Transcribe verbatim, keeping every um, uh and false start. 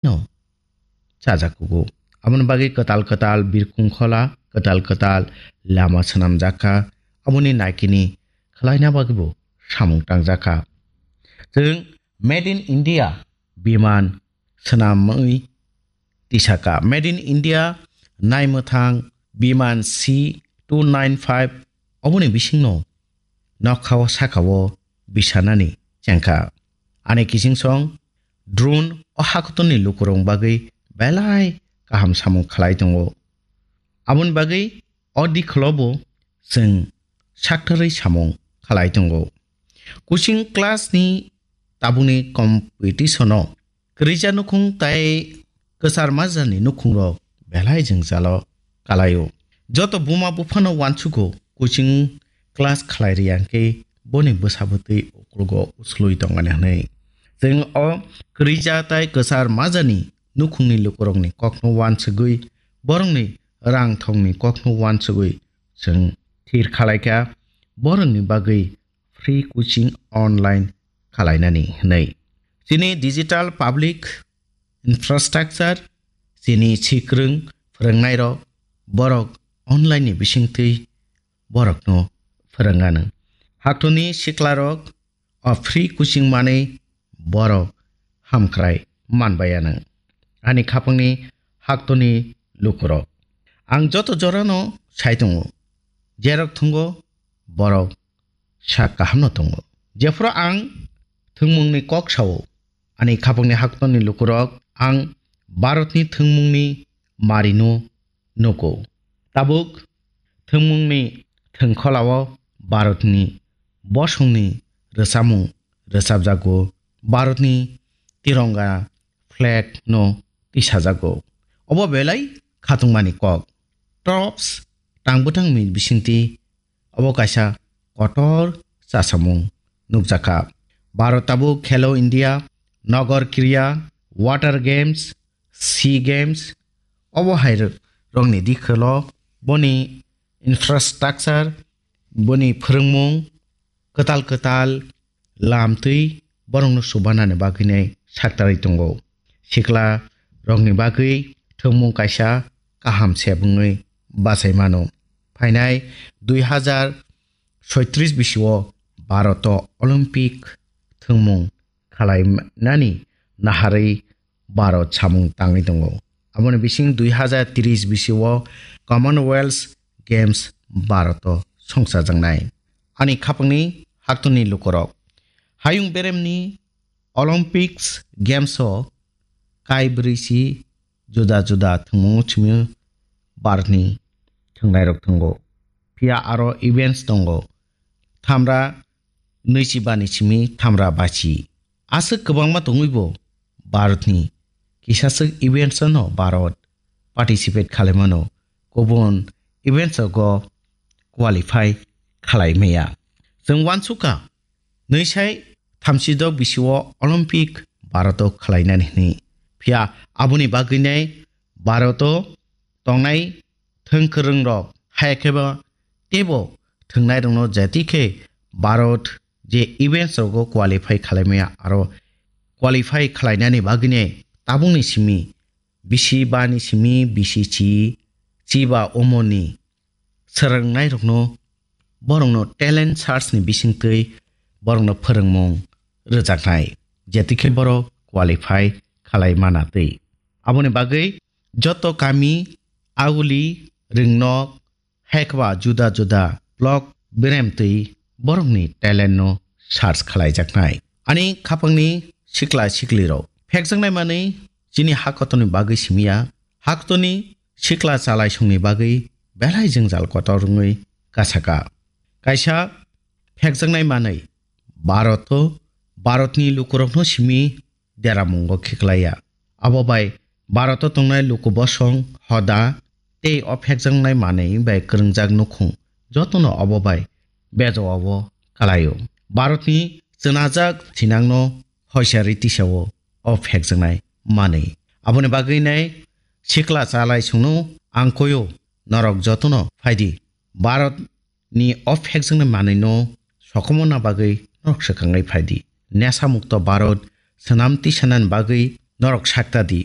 no chajak kugo. Aboni bagwi kwtal kwtal birkhung khola, kwtal kwtal lama swnamjak kha. Aboni naikini khwlaina bagwibo samung tangjak kha. Chwng Made in India biman swnamwi tisaka. Made in India naimwthang biman C two nine five oboni bisingno nokhao sakao bisanani chengkha. Ani kichingsong drone o hakotorni lukurok bagwi belai kaham samung khlai tongo. Aboni bagwi o dikholobo chwng saktarwi samung khlai tongo. Coaching class ni tabukni competition o kwrwija nukhung tai kwchar majani nukhungrok belai jwngjalo kalaio. Joto buma buphano uansugo coaching class khlai riyang khe boni bwsa bwtwi uklogo uslui tongmani hwnwi. Chwng o kwrwija tai kwchar majani nukhungni lukurokni kokno uansugwi, borokni rang thongni kokno uansugwi chwng thir khalaikha borokni bagwi free coaching online khalainani hwnwi. Chini digital public infrastructure, chini sikrwng phwrwngnairok borok online ni bisingtwi borokno phwrwngano. Haktorni siklarok o free coaching manwi borok hamkrai manbaiano. Ani khapangni haktorni lukurok. Ang joto jorano sai tongo. Jerok thungo borok sak kahamno tongo. Jephuru ang thwngmungni kok sao, ani khapangni haktorni lukurok, ang Bharatni thwngmungni marino nugo. Tabuk thwngmungni thwngkholao Bharatni bosongni rwchapmung rwchapjago, Bharatni tironga flag no tisajago. Obo belai khatungmani kok. Tops tang bwtangni bisingtwi obo kaisa kotor chasamung nukjakha. Bharat tabuk Khelo India, Nogor Kriya, Water Games, Sea Games, obo hai rokni dikholo boni infrastructure, boni phwrwngmung, kwtal kwtal lamtwi borokno chubanani bagwinai saktarwi tongo. Sikla rokni bagwi thwngmung kaisa kaham se wngwi bachai mano. Phainai dui hazar soitris bisio Bharoto Olympic thwngmung khalainani naharwi Bharat samung tangwi tongo. Aboni bising dui hazar tris bisio Commonwealth Games Bharoto songchajaknai. Ani khapangni haktorni lukurok. Hayung beremni Olympics Games o kai brwi si juda juda thwngmungo simi Bharatni thwngnairok thwngo. Phiya aro events tongo. Thamra nwichi bani simi thamra bachi. Aswk kwbangma tongwibo Bharatni kisaswk events no Bharat participate khalaimano, kubun events rogo qualify khalai maya. Chwng uansukha nwisai thamsidok bisio Olympic Bharoto khalainani hwnwi. Phiya aboni bagwinai Bharoto tongnai thwngkwrwngrok, haikheba teibo thwngnairokno jati khe Bharat je events rogo qualify khalaimaya aro qualify khalainani bagwinai tabukni simi bisi bani simi bisi chi, chi ba omoni swrwngnairokno, borokno talent search ni bisingtwi borokno phwrwngmung rwjaknai, jeti khe borok qualify khalai mana twi. Aboni bagwi joto kami, aguli, ringnok, haikheba juda juda block beremtwi borokni talent no search khalaijaknai. Ani khapangni sikla siklirok, phekjaknai manwi chini hakotoni bagwi simiya, hakotoni sikla chalaisongni bagwi belai jwngjal kotor wngwi kasaka. Kaisa phekjaknai manwi Bharoto, Bharotni lukurokno simi deramungo khiklaiya. Abo bai Bharoto tongnai luku bosong, hoda tei o phekjaknai manwi bai kwrwngjak nukhung jotono obo bai bejowao kalaio. Bharatni chwnajak sinangno hoisari tisao o phekjaknai manwi. Aboni bagwi nai sikla chalaisongno ang koio, norok jotono phaidi. Bharat ni o phekjaknai manwino sokomorna bagwi norok swkangwi phaidi. Nesa mukto Bharat swnam tisanani bagwi Norok sak ta di,